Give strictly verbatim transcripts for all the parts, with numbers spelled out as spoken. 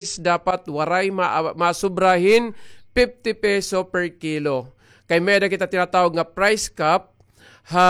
dapat waray ma-, masubra hin fifty peso per kilo. Kay may-ada kita tinatawag nga price cap, ha,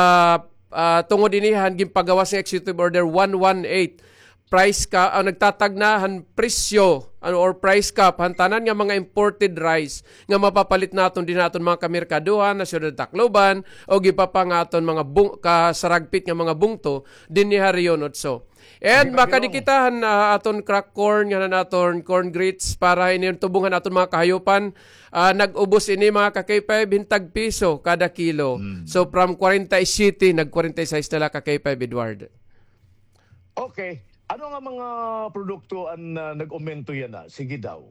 ah, tungod ini han ginpagawas nga Executive Order one one eight. Price cap, ah, nagtatagna han presyo, ano, or price cap han tanan nga mga imported rice nga mapapalit naton dinhi ha aton mga kamerkaduhan ha Syudad Tacloban o iba pa nga aton mga bung-, kasaragpit nga mga bungto dinhi ha Region Otso. And makadi kita han, ah, aton crack corn, ngan han aton corn grits para ini tubong han aton mga kahayupan. Ah, nag-ubos ini, mga ka-K five, hin tag piso kada kilo. So, from kwarenta y siyete, nag-kwarenta y sais na la, ka-K five Edward. Okay. Ano nga mga produkto an, ah, nag-umento yana? Sige daw.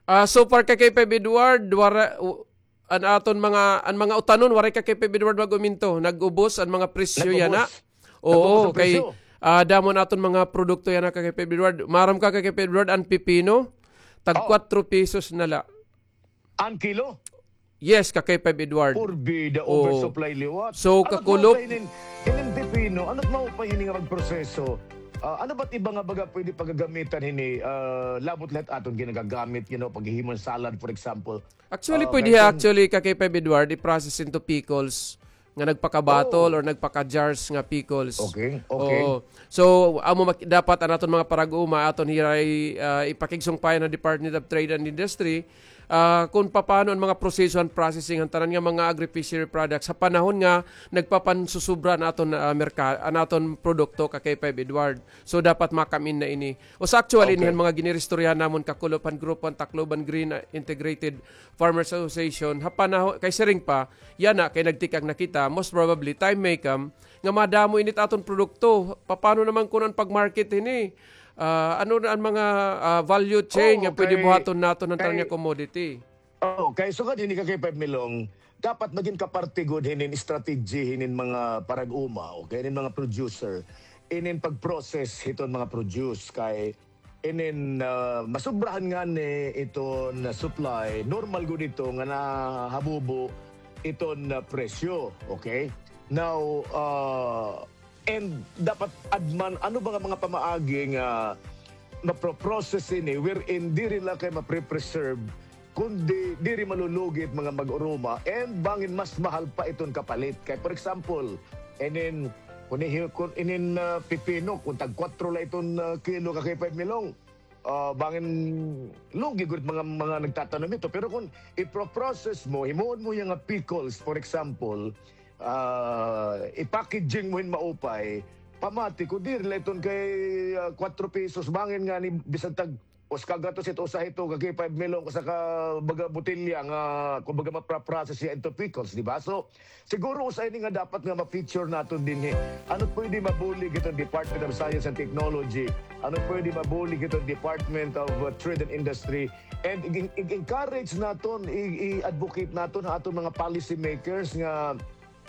Ah, so far, ka-K five Edward, wara-, u-, an aton mga, an mga utanon, waray, ka-K five Edward, mag-uminto. Nag-ubos an mga presyo yana. Nag-ubos. Oo, nag-ubos an kay, presyo. Ah, damo an aton mga produkto yana, ka-K five Edward. Maaram ka, ka-K five Edward, an pipino, tag kwatro pesos na la. An kilo? Yes, ka-K five Edward. Porbida, oversupply liwat. So, ano kakulop, maupay hinin, hinin pipino, ano maupay hini nga magproseso? Ah, ano ba't iba nga baga pwede pagagamitan hini, ah, labot lahat aton ginagagamit, you know, paghihimo hin salad, for example? Actually, pwede, actually, ka-K five Edward, i-process into pickles nga nagpaka-bottle or nagpaka-jars nga pickles. Okay, okay. Oo. So, amo mak-, dapat an aton mga parag-uma, aton hiray, ah, ipakigsungpayan han Department of Trade and Industry, ah, kon papaano an mga proseso han processing han tanan nga mga agri-fishery products ha panahon nga nagpapansusubra an aton, ah, merka-, an aton produkto, ka-K five Edward. So, dapat makamin na ini. Usa actually, okay, ini han mga giniristoryahan namon kakulop han grupo han Tacloban Green, ah, Integrated Farmers Association, ha panaho-, kay siring pa, yana, kay nagtikang na kita, most probably, time may come, nga madamo ini it aton produkto. Paano naman kuno an pag-market hini? Ah, ano na an mga, ah, value chain nga pwede buhaton naton han tanan nga commodity? Oo, kay sugad hini, ka-K five Milong, dapat magin kaparte gud hinin strategy hinin mga parag-uma, okay, hinin mga producer, inin pag-process hiton mga produce kay inin, ah, masubrahan ngani iton supply, normal gud ito nga nahabubo iton, ah, presyo, okay? Now, ah, and dapat adman, ano ba nga mga pamaagi nga mapro-process ini wherein diri la kay mapre-preserve, kundi diri malulugi it mga mag-uruma, and bangin mas mahal pa iton kapalit. Kay, for example, inin, kun ihi-, kun inin, ah, pipino, kun tag kwatro la iton, ah, kilo, ka-K five Milong, ah, bangin lugi gud mga, mga nagtatanom ito. Pero kun ipro-process mo, himuon mo yana nga pickles, for example, ah, i-packaging mo hin maupay, pamati ko, diri la iton kay, ah, kwatro pesos, bangin ngani, bisan tag usa ka gatos ito, usa hito, ka-K five Milong, usa ka baga botelya nga, kumbaga, mapra-process hiya into pickles, di ba? So, siguro usa ini nga dapat nga ma-feature naton dinhi. Ano pwede mabulig hiton Department of Science and Technology? Ano pwede mabulig hiton Department of, uh, Trade and Industry? And i-, i-, encourage naton, i-, i-advocate naton ha aton mga policy makers nga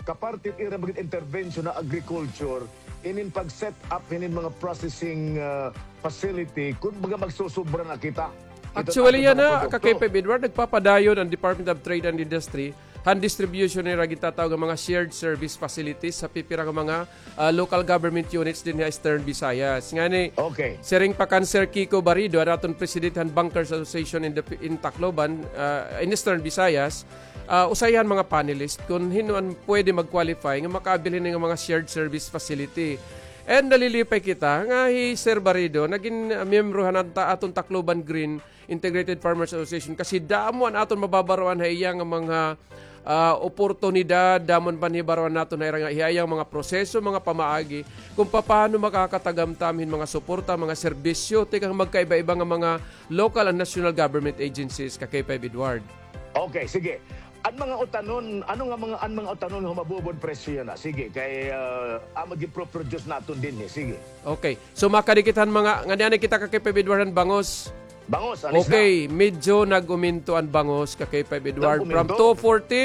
kaparte it ira mga intervention ha agriculture, inin pag-set up hinin mga processing, ah, facility, kun baga magsusubra na kita. Actually, yana, ka-K five Edward, nagpapadayon an Department of Trade and Industry han distribution nira gintatawag nga mga shared service facilities ha pipira nga mga, ah, local government units dinhi ha Eastern Visayas. Ngani, okay, siring pa kan Sir Kiko Barido, an aton president han Bankers Association in the, in Tacloban, ah, in Eastern Visayas, ah, usa hiya han mga panelist kun hin-o an pwede mag-qualify nga makaabili hini nga mga shared service facility. And nalilipay kita nga hi Sir Barido nagin, ah, miyembro han ata-, aton Tacloban Green Integrated Farmers Association kasi damo an aton mababaroan ha iya nga mga, ah, oportunidad, damo an panhibaroan naton ha ira nga, ha iya nga mga proseso, mga pamaagi, kung papaano makakatagamtam hin mga suporta, mga serbisyo, tikang magkaiba-iba nga mga local and national government agencies, ka-K five Edward. Okay, sige. An mga utanon, ano nga mga, an mga utanon nga humabubod presyo yana? Sige, kay, ah, amo gipro-produce naton dinhi. Sige. Okay. So, makadi kita han mga, ngani-ani kita, ka-K five Edward, han bangos. Bangos, an isda. Okay, medyo nag-uminto an bangos, ka-K five Edward. Nag-uminto? From two forty,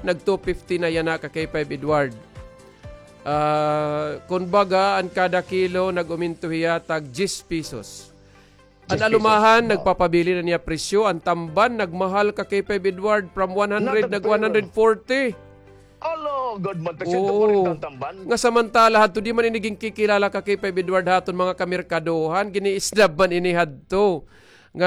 nag-two fifty na yana, ka-K five Edward. Ah, kun baga, an kada kilo, nag-uminto hiya, tag diyes pesos. An alumahan, nagpapabilin an iya presyo. An tamban, nagmahal, ka-K five Edward, from one hundred, nag-one hundred forty. Alo, good man, tag sento kwarenta an tamban. Nga samantala hadto, di man ini ginkikilala, ka-K five Edward, ha aton mga kamerkadohan, gini-snub man ini hadto.